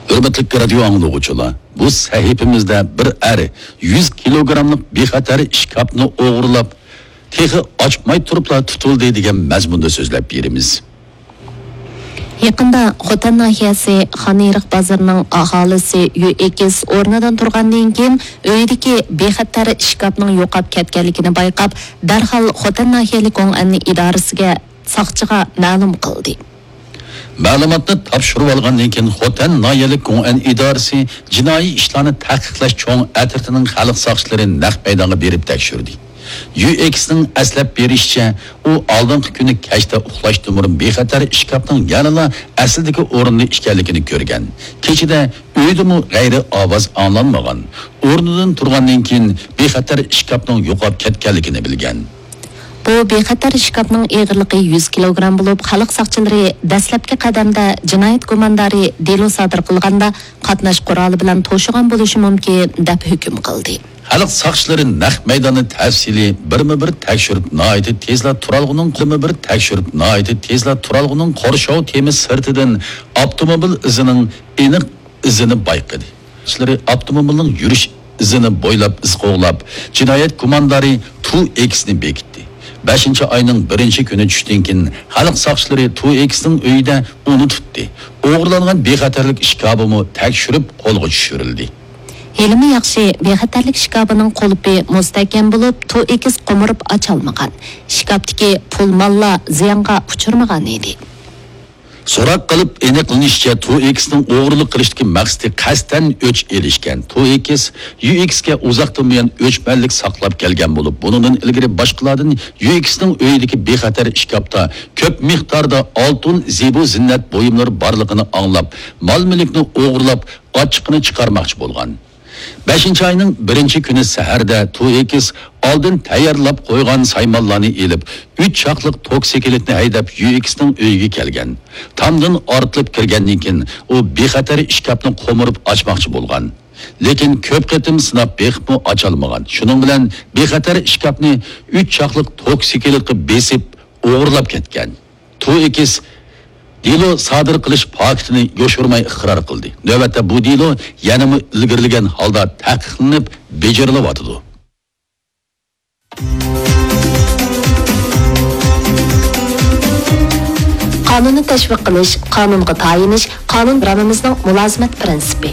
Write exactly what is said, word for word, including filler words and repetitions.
ھۆرمەتلىك رادىيو ئاڭلىغۇچىلار، بۇ سەھىپىمىزدە بىر ئەر يۈز كىلوگراملىق بىخەتەر ئىشكاپنى ئوغرىلاپ، تېخى ئاچماي تۇرۇپلا تۇتۇلدى دېگەن مەزمۇندا سۆزلەپ بېرىمىز. يېقىندا خوتەن ناھىيەسى خانئېرىق بازىرىنىڭ ئاھالىسى يۈ ئېكس ئورنىدىن تۇرغاندىن كېيىن، ئۆيىدىكى بىخەتەر ئىشكاپنىڭ يوقاپ كەتكەنلىكىنى بايقاپ، دەرھال خوتەن ناھىيەلىك گوڭئەن ئىدارىسىگە، ساقچىغا مەلۇم قىلدى. مەلۇماتنى تاپشۇرۇۋالغاندىن كېيىن، خوتەن ناھىيەلىك گوڭئەن ئىدارىسى جىنايى ئىشلارنى تەھقىقلەش چوڭ ئەترىتىنىڭ خەلق ساقچىلىرى نەق مەيدانغا بېرىپ تەكشۈردى. يۈ ئېكسنىڭ ئەسلەپ بېرىشىچە، ئۇ ئالدىنقى كۈنى كەچتە ئۇخلاشتىن بۇرۇن بىخەتەر ئىشكاپنىڭ يەنىلا ئەسلىدىكى ئورنىدا ئىكەنلىكىنى كۆرگەن. كېچىدە ئۆيدىمۇ غەيرىي ئاۋاز ئاڭلانمىغان. ئورنىدىن تۇرغاندىن كېيىن، بىخەتەر ئىشكاپنىڭ يوقاپ كەتكەنلىكىنى بىلگەن. بۇ بىخەتەر ئىشكاپنىڭ ئېغىرلىقى يۈز كىلوگرام بولۇپ، خەلق ساقچىلىرى دەسلەپكى قەدەمدە جىنايەت گۇماندارى دېلو سادىر قىلغاندا قاتناش قورالى بىلەن توشۇغان بولۇشى مۇمكىن، دەپ ھۆكۈم قىلدى. خەلق ساقچىلىرى نەق مەيداننى تەپسىلىي بىرمۇ بىر تەكشۈرۈپ، ناھايىتى تېزلا تۇرالغۇنىڭ بىرمۇ بىر تەكشۈرۈپ، ناھايىتى تېزلا تۇرالغۇنىڭ قورشاۋ تېمى سىرتىدىن ئاپتوموبىل ئىزىنىڭ ئېنىق ئىزىنى بايقىدى. ساقچىلىرى ئاپتوموبىلنىڭ يۈرۈش ئىزىنى بويلاپ ئىز قوغلاپ، جىنايەت گۇماندارى تۇ ئېكسنى بېكىتتى. بەشىنچى ئاينىڭ بىرىنچى كۈنى چۈشتىن كېيىن، خەلق ساقچىلىرى تۇ ئېكسنىڭ ئۆيىدە ئۇنى تۇتتى. ئوغرىلانغان بىخەتەرلىك ئىشكاپىمۇ تەكشۈرۈپ قولغا چۈشۈرۈلدى. ھېلىمۇ ياخشى، بىخەتەرلىك ئىشكاپىنىڭ قۇلۇپى مۇستەھكەم بولۇپ، تۇ ئېكس قومۇرۇپ ئاچالمىغان. ئىشكاپتىكى پۇل ماللار زىيانغا ئۇچرىمىغان ئىدى. سوراق قىلىپ ئېنىقلىنىشىچە، تۇ ئېكسنىڭ ئوغرىلىق قىلىشتىكى مەقسىتى قەستەن ئۆچ ئېلىشكەن. تۇ ئېكس يۈ ئېكسكە ئۇزاقتىن بۇيان ئۆچمەنلىك ساقلاپ كەلگەن بولۇپ، بۇنىڭدىن ئىلگىرى باشقىلاردىن يۈ ئېكسنىڭ ئۆيىدىكى بىخەتەر ئىشكاپتا كۆپ مىقداردا ئالتۇن، زىبۇ زىننەت بۇيۇملىرى بارلىقىنى ئاڭلاپ، مال-مۈلۈكنى ئوغرىلاپ، ئاچچىقىنى چىقارماقچى بولغان. بەشىنچى ئاينىڭ بىرىنچى كۈنى سەھەردە تۇ ئېكس ئالدىن تەييارلاپ قويغان سايمانلارنى ئېلىپ، ئۈچ چاقلىق توكسىكلىتنى ھەيدەپ، يۈ ئېكسنىڭ ئۆيىگە كەلگەن. تامدىن ئارتىلىپ كىرگەندىن كېيىن، ئۇ بىخەتەر ئىشكاپنى قومۇرۇپ ئاچماقچى بولغان. لېكىن كۆپ قېتىم سىناپ بېقىپمۇ ئاچالمىغان. شۇنىڭ بىلەن بىخەتەر ئىشكاپنى ئۈچ چاقلىق توكسىكلىتقا بېسىپ، ئوغرىلاپ كەتكەن. تۇ ئېكس دېلو سادىر قىلىش پاكىتىنى يوشۇرماي ئىقرار قىلدى. نۆۋەتتە بۇ دېلو يەنىمۇ ئىلگىرىلىگەن ھالدا تەھقىقلىنىپ بېجىرىلىۋاتىدۇ. قانۇننى تەشۋىق قىلىش، قانۇنغا تايىنىش، قانۇن رامىمىزنىڭ مۇلازىمەت پىرىنسىپى.